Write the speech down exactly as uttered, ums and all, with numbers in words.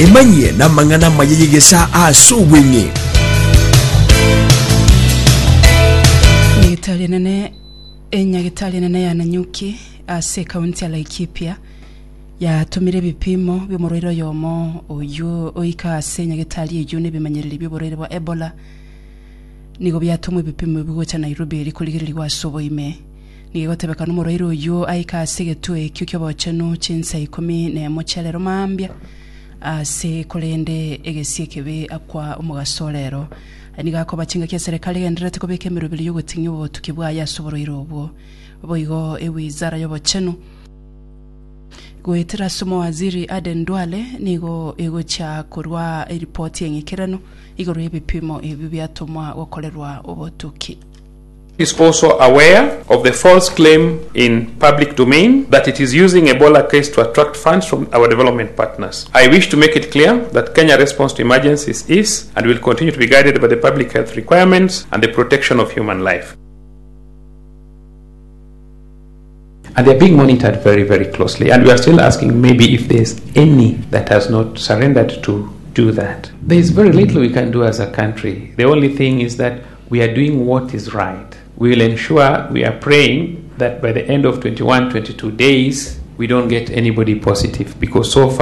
Emanyie n'amang'ana amaya y'egesa ase obweng'e. Nyagetari enene enyagetari enene ya Nanyuki ase ekaunti ya Laikipia yatomire ebipimo bi'omorwaire oyomo oywo oika ase nyagetari eywo na ebimanyereri bi'oborwaire bwa Ebola nigo biatomwa ebipimo ebi gocha Nairobi eri korigererigwa ase oboime. Nigo egotebekana omorwaire oywo aika ase egetuo ekio ki'obochenu chinsa ikomi na emo chia rero mambia ase korende egesie ekebe akwa omogaso orero. Aya nigo akoba chingaki eserekari egendererete kobeka emeroberi y'ogoting'ia obotuki bwaye ase oborwaire obwo. Boigo ewizara y'obochenu goetera ase omowaziri Aden Duale nigo egochia korwa eripoti eng'ikeranu igoro y'ebipimo ebio biatomwa gokorerwa obotuki. Is also aware of the false claim in public domain that it is using Ebola case to attract funds from our development partners. I wish to make it clear that Kenya response to emergencies is and will continue to be guided by the public health requirements and the protection of human life. And they're being monitored very, very closely. And we are still asking maybe if there's any that has not surrendered to do that. There is very little we can do as a country. The only thing is that we are doing what is right. We will ensure, we are praying that by the end of twenty-one, twenty-two days, we don't get anybody positive, because so far